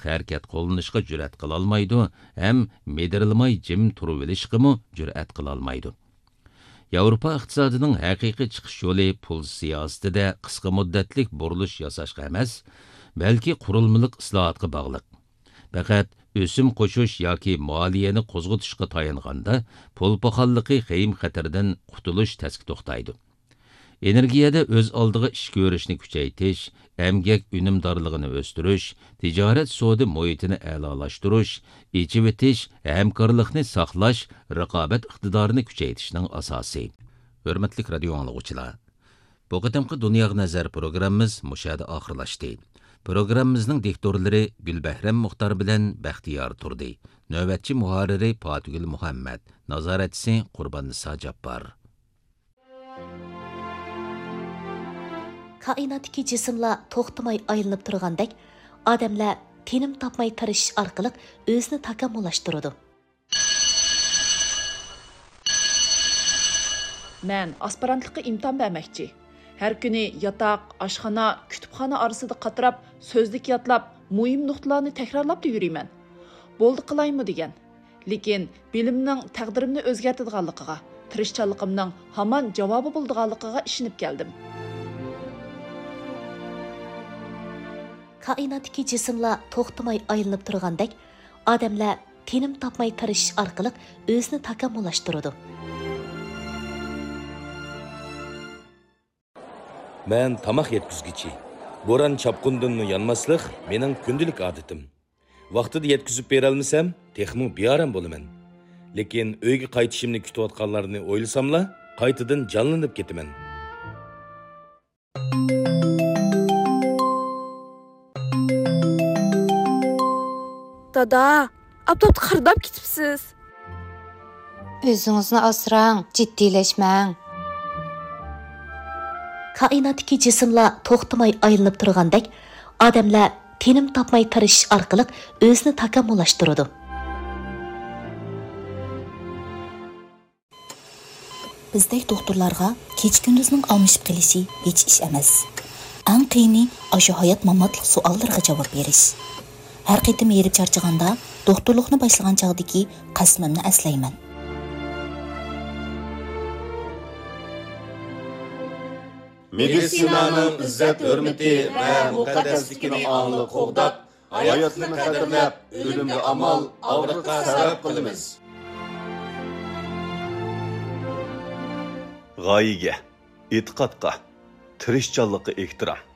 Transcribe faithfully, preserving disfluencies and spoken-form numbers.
ھەرىكەت قوللىنىشقا جۈرئەت قىلالمايدۇ ھەم مىدىرلىماي جىم تۇرۇۋېلىشقىمۇ جۈرئەت قىلالمايدۇ. ياۋروپا ئىقتىسادىنىڭ ھەقىقىي چىقىش يولى پۇل سىياسىتىدە قىسقا مۇددەتلىك بۇرۇلۇش ياساشقا ئەمەس، بەلكى قۇرۇلمىلىق ئىسلاھاتقا باغلىق. پەقەت ئۆسۈم قوشۇش ياكى مالىيەنى قوزغىتىشقا تايانغاندا، پۇل پاخاللىقى خېيىم خەتىرىدىن قۇتۇلۇش تەسكە توختايدۇ. ئېنېرگىيەدە ئۆز ئالدىغا ئىش كۆرۈشنى كۈچەيتىش، ئەمگەك ئۈنۈمدارلىقىنى ئۆستۈرۈش، تىجارەت سودا مۇھىتىنى ئەلالاشتۇرۇش، ئېچىۋېتىش، ھەمكارلىقنى ساقلاش، رىقابەت ئىقتىدارىنى كۈچەيتىشنىڭ ئاساسى. ھۆرمەتلىك رادىيو ئاڭلىغۇچىلار! بۇ قېتىمقى دۇنياغا نەزەر پروگراممىمىز مۇشۇ يەردە ئاخىرلاشتى. پروگراممىمىزنىڭ دىكتورلىرى گۈلبەھرەم مۇختار بىلەن بەختىيار تۇردى. نۆۋەتچى مۇھەررىرى پاتىگۈل مۇھەممەد. نازارەتچىسى قۇرباننىسا جاپپار. كائىناتتىكى جىسىملار توختىماي ئايلىنىپ تۇرغاندەك، ئادەملەر تىنىم تاپماي تىرىشىش ئارقىلىق ئۆزىنى تاكامۇللاشتۇرىدۇ. مەن ئاسپىرانتلىققا ئىمتىھان بەرمەكچى. ھەر كۈنى ياتاق، ئاشخانا، كۇتۇپخانا ئارىسىدا قاتراپ، سۆزلۈك يادلاپ، مۇھىم نۇقتىلارنى تەكرارلاپلا يۈرىمەن. بولدى قىلايمۇ دېگەن. لېكىن بىلىمنىڭ تەقدىرىمنى ئۆزگەرتىدىغانلىقىغا، تىرىشچانلىقىمنىڭ ھامان جاۋابى بولىدىغانلىقىغا ئىشىنىپ كەلدىم. كائىناتتىكى جىسىملار توختىماي ئايلىنىپ تۇرغاندەك، ئادەملەر تىنىم تاپماي تىرىشىش ئارقىلىق ئۆزىنى تاكامۇللاشتۇرىدۇ. مەن تاماق يەتكۈزگۈچى. بوران-چاپقۇندىنمۇ يانماسلىق مېنىڭ كۈندىلىك ئادىتىم. ۋاقتىدا يەتكۈزۈپ بېرەلمىسەم، تېخىمۇ بىئارام بولىمەن. لېكىن ئۆيگە قايتىشىمنى كۈتۈۋاتقانلارنى ئويلىساملا، قايتىدىن جانلىنىپ كېتىمەن. دادا، ئاپتاپتا قىرداپ كېتىپسىز. ئۆزىڭىزنى ئاسراڭ، جىددىيلەشمەڭ. كائىناتتىكى جىسىملار توختىماي ئايلىنىپ تۇرغاندەك، ئادەملەر تىنىم تاپماي تىرىشىش ئارقىلىق ئۆزىنى تاكامۇللاشتۇرىدۇ. بىزدەك دوختۇرلارغا كېچە-كۈندۈزنىڭ ئالمىشىپ قېلىشى ھېچ ئىش ئەمەس. ئەڭ قىيىنى ئاشۇ ھايات-ماماتلىق سوئاللىرىغا جاۋاب بېرىش. ھەر قېتىم ھېرىپ چارچىغاندا، دوختۇرلۇقنى باشلىغان چاغدىكى قەسىمىمنى ئەسلەيمەن. مېدىتسىنانىڭ ئىززەت-ھۆرمىتى ۋە مۇقەددەسلىكىنى ئاڭلىق قوغداپ، ھاياتلىقنى قەدىرلەپ، ئۆلۈمگە ئامال، ئاغرىققا سەۋەب قىلىمىز. غايىگە، ئېتىقادقا، تىرىشچانلىققا ئېھتىرام.